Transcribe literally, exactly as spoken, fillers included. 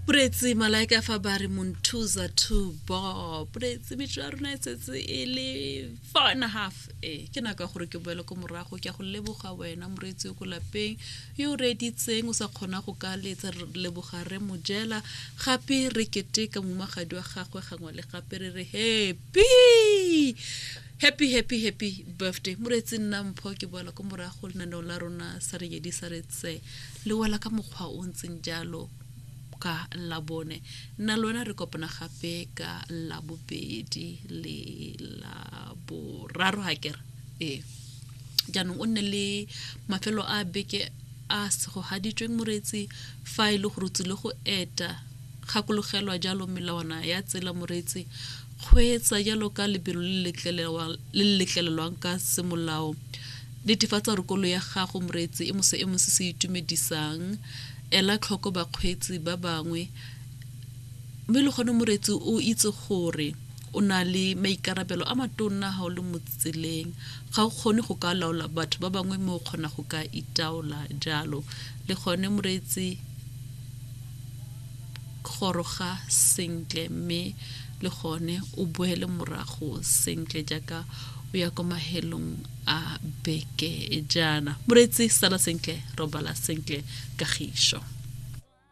Moreetsi, malaika fa ba re Monthuza to Bob. Moreetsi, metso ya rona e setse e le four and a half. Ee, ke nako ya gore ke boele ko morago. Ke a go leboga wena moreetsi yo ko lapeng yo o reeditseng o sa kgona go ka letsa. Re leboga re mojela gape re keteka momagadi wa gagwe gangwe le gape, re re happy, happy, happy, happy birthday. Moreetsi, nna Mpho, ke boela ko morago. Lenaneo la rona sa re yedi sa re tse le wela ka mokgwa o ntseng jalo ka Labone. Nna le wena re kopana gape ka Labobedi le Laboraro ga kere. Ee, jaanong o nne le mafelo a beke a segogaditsweng. Moreetsi, fa e le gore o tsile go eta, gakologelwa jalo melawana ya tsela. Moreetsi, kgweetsa jalo ka lebelo le le letlelelwang ka semolao. Netefatsa gore koloi ya gago, moreetsi, e mo seemo se se itumedisang. Ela tlhoko bakgweetsi ba bangwe, mme le gone, moreetsi, o itse gore o na le maikarabelo a matonna ga o le mo tseleng. Ga o kgone go ka laola batho ba bangwe, mme o kgona go ka itaola jalo. Le gone, moreetsi, goroga sentle, mme le gone o boele morago sentle jaaka o ya ko mahelong a beke jaana. Moreetsi, sala sentle, robala sentle, kagišo.